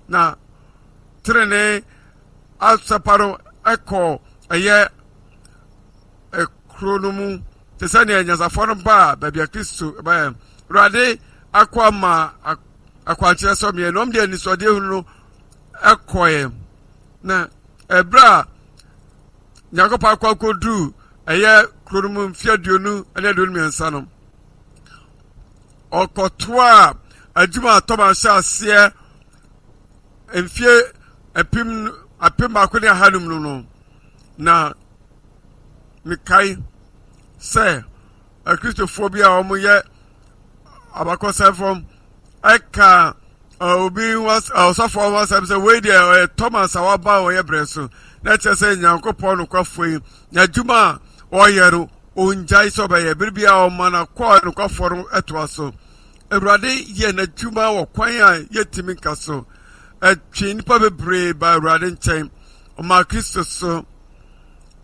Na tenenee asɛmpa no kɔɔ ɛyɛ kuro no mu te sɛ nea anyansafoɔ no baa baabi a Kristo baeɛ. Awurade akoa ma akwankyerɛ sɛ ɔmeɛ na ɔm de anisoadeɛ hunu no kɔɛ. Na ɛberɛ a Nyankopɔn akoa kɔduu ɛyɛ kuro no mu mfeɛ 23 no, ɔkɔtoaa adwuma a Tɔma hyɛ aseɛ mfeɛ 1500 no. Na mekae sɛ Akristofoɔ bi a wɔyɛ abakɔsɛmfoɔ ɛka obi ho ɔsɔfoɔ ho asɛm sɛ wei deɛ ɔyɛ Thomas a waba a ɔyɛ berɛ so, na ɛkyerɛ sɛ Nyankopɔn nokwafoɔ yi n'adwuma a ɔyɛ no ɔngyae sɛ ɔbɛyɛ bere biara ɔma n'akoa nokwafoɔ no ɛtoa so. Awurade yɛ n'adwuma wɔ kwan a yɛtumi nka so. Ɛtwe nnipa bebree ba Awurade nkyɛn. Ɔmaa Kristo so.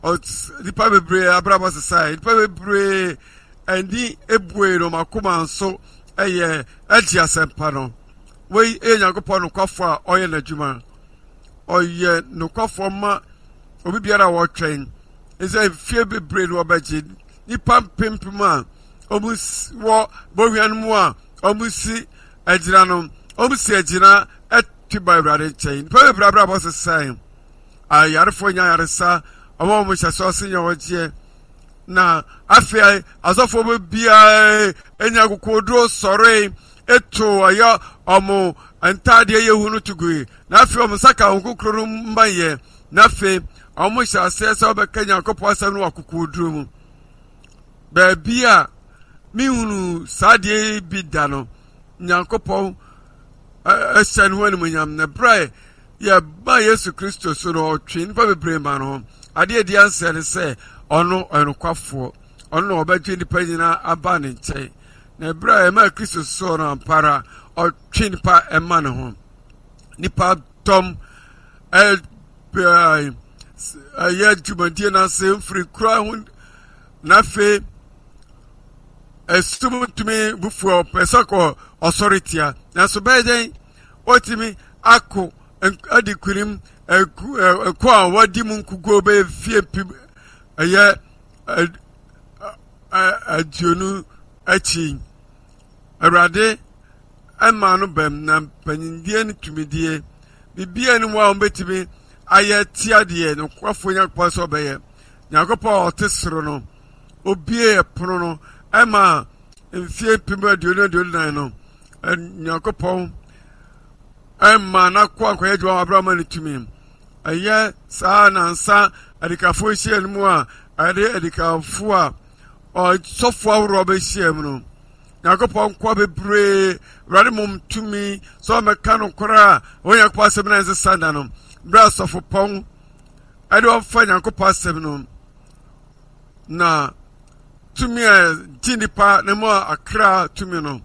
Nnipa bebree abrabɔ sesae. Nnipa bebree ani ebue no akoma nso ɛyɛ agye asɛmpa no. Wei yɛ Nyankopɔn nokwafo a ɔyɛ n'adwuma. Ɔyɛ nokwafo ma obi biara a wɔtwɛn. Ɛsɛ mfie bebree no ɔbɛgye nnipa mpempem a wɔn wɔ bɔhwia no mu a wɔsi agyina no, wɔsi agyina ɛte ba Awurade nkyɛn. Nnipa bebree abrabɔ sesae. Ayarefoɔ nya ayaresa, wɔn a wɔn hyɛ so ase nya ɔgyeɛ. Na afei asɔfoɔ mu biara nya akokoɔduro sɔre eto ɛyɛ wɔn ntaadeɛ yɛ hu no to gui. Na afei wɔn nsa ka wɔn kokoro no mma yɛ. Na afei wɔn hyɛ aseɛ sɛ wɔbɛka Nyankopɔn asɛm no wɔ akokoɔduro mu. Baabi a mehunu saa adeɛ yi bi da no, Nyankopɔn hyɛ ne ho animuonyam. Na berɛ a yɛba Yesu Kristo so no, ɔtwe nnipa bebree ma no ho. Adeɛ a ɛdi ansɛ ne sɛ ɔno ɔyɛ nokwafoɔ. Ɔno na ɔbɛgye nnipa nyinaa aba ne nkyɛn. Na berɛ a yɛma Kristo soɔ no, ampa ara ɔtwe nnipa ma ne ho. Nnipa dɔm ɛyɛ dwumadie no ase mfiri kura ho na afei ɛsum ntumi bufuo ɔpɛ sɛ kɔ ɔsɔre tia, nanso bɛyɛ dɛn ɔtumi ako adi kunim ɛko a wɔadi mu nkuguo bɛyɛ fie mpem ɛyɛ 20 akyi. Awurade ɛmaa no bɛm na mpanyindie ne tumidie biribiara ni mu a wɔbɛtumi ayɛ tia deɛ nokwafoɔ Nyankopɔn sɛ ɔbɛyɛ. Nyankopɔn a ɔte soro no, obiee ɛpono no ɛma mfie 2024 no, Nyankopɔn ɛma n'akoa nkɔyɛ adwuma wɔ abere ama no tumi. Ɛyɛ saa nansa adikafoɔ nhyia no mu a ɛde adikafoɔ a ɔsɔfoɔ ahoroɔ bɛhyia mu no, Nyankopɔn nkoa bebree Awurade mom tumi sɛ ɔmɛka no koraa a Onyankopɔn asɛm no ɛnsesa da no. Berɛ asɔfopɔn ɛde ɔfa Nyankopɔn asɛm no na tumi a gye nipa ne mu akra tumi no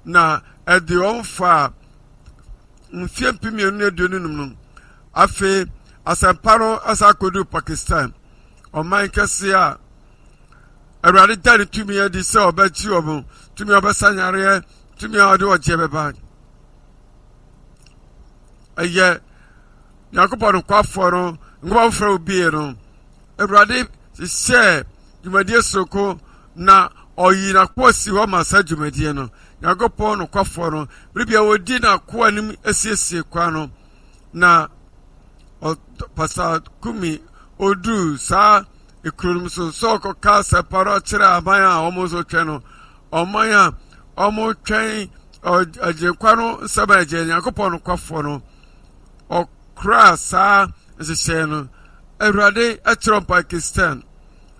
na ɛde wɔn fa mfeɛ 2025 no. Afei asɛmpa no asa akɔdu Pakistan, ɔman kɛse a Awurade da ne tumi adi sɛ ɔbɛgye wɔn, tumi a ɔbɛsa nyareɛ, tumi a ɔde ɔgyeɛ bɛba. Ɛyɛ Nyankopɔn nokwafoɔ no nwoma foforɔ a obie no, Awurade hyehyɛɛ dwumadie soronko na ɔyii n'akoa si hɔ ma saa dwumadie no. Nyankopɔn nokwafoɔ no, bere bia wɔdi n'akoa anim asiesie kwan no, na Pastor Kumi oduu saa ekuro no so sɛ ɔkɔka asɛmpa no kyerɛ aman a wɔn nso twɛn no, ɔman a wɔtwɛn Agyenkwa no nsɛm a ɛgye Nyankopɔn nokwafoɔ no. Ɔkoraa saa nhyehyɛe no. Awurade kyerɛ Pakistan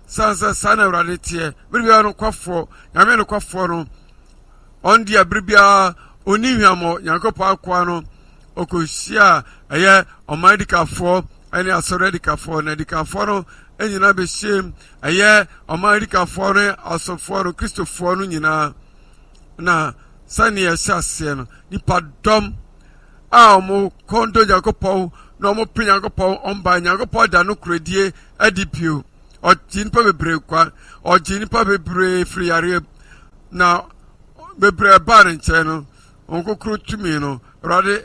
san sɛ saa na Awurade teɛ. Bere biara nokwafoɔ, Nyame nokwafoɔ no, ɔn deɛ bere biara ɔni hwammɔ. Nyankopɔn akoa no ɔkɔhyia ɛyɛ ɔman adikafoɔ ne asɔre adikafoɔ, na adikafoɔ no nyinaa bɛhyiam, ɛyɛ ɔman adikafoɔ ne asɔfoɔ no, Kristofoɔ no nyinaa. Na sɛnea ɛhyɛ aseɛ no, nipadɔm a wɔn kɔn dɔ Nyankopɔn na wɔn pe Nyankopɔn ɔmba Nyankopɔn da no koredie adi bio. Ɔgye nipa bebree kwa, ɔgye nipa bebree firi yareɛ, na bebree baa ne nkyɛn no, wɔn kokoro tumi no, Awurade.